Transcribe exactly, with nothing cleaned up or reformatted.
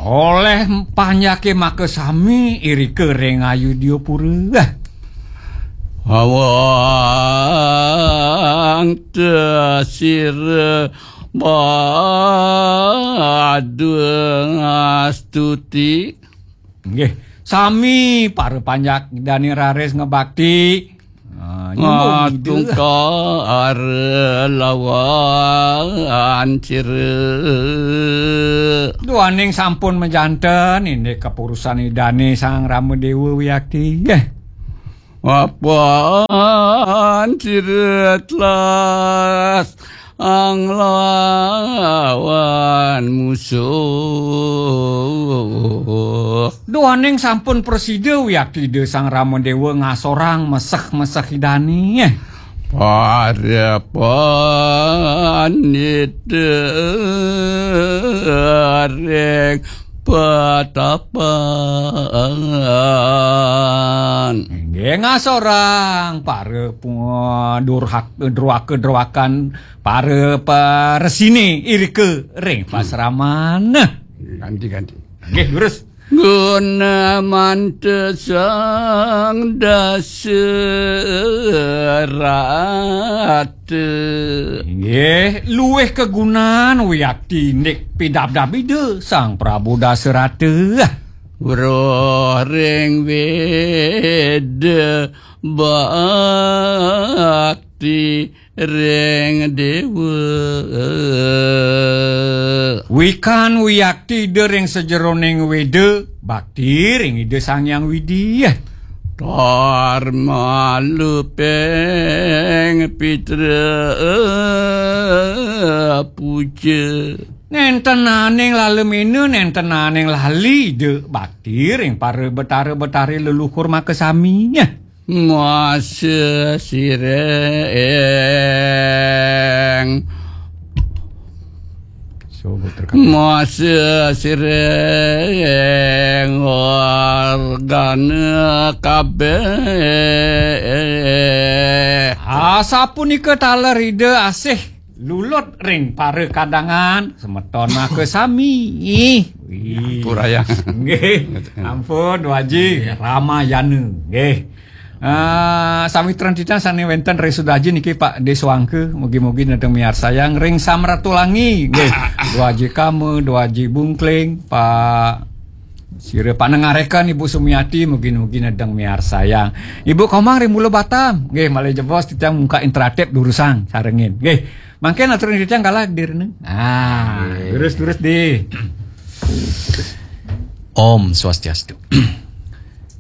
Oleh panjake makasami irika ring Ayudyapura. Awang tesira badung astuti. Nggih, sami para panjak dane raris ngebakti. Ah, nyumbung Ida. Matungkar lawan sira. Duaning sampun majanten indik kapurusan Idane Sang Rama Dewa Wiakti. Nggih. Apan sira telas anglawan musuh. Duaning sampun prasida wiakti Ida Sang Rama Dewa ngasorang meseh-meseh Idane. Para pandita ring patapan. Inggih ngasorang para pu-, durhak-, druaka-druakan, para paresine irika ring pasraman. Ganti, ganti. Nggih, durus. Guna mantesang dasarata. Inggih, luwih kagunan wiakti indik pidabdab Ida Sang Prabu Dasarata. Weruh ring Weda bakti ring dewa. Wikan wiakti Ida ring sajeroning Weda, bakti ring Ida Sang Hyang Widi. Tar malupeng pitra puja. Nentenaning lalemena, nentenaning lali Ida, bakti ring para betara-betari leluhur makasami. Masa sireng. Masa sireng wargana kabeh. Asapunika taler Ida asih lulut ring para kadangan, semeton makasami. Wih. Ampurayang. Nggih. Ampun, Dwaji Ramayana. Nggih. Ah, sawitran titiang sane wenten ring Sudaji niki, Pak Deswangka, mugi-mugi nedeng miarsayang ring Samratulangi. Nggih. Dwaji Kama, Dwaji Bungkling, Pak Sira panengareka Ibu Sumiati, mugi-mugi nedeng miarsayang. Ibu Komang ring Mula Batam. Nggih, malih jebos titiang mungkak interaktif durusang sarengin. Nggih. Mangkin atur titiang galah direne. Ah, nggih. Durus-durus di. Om Swastiastu.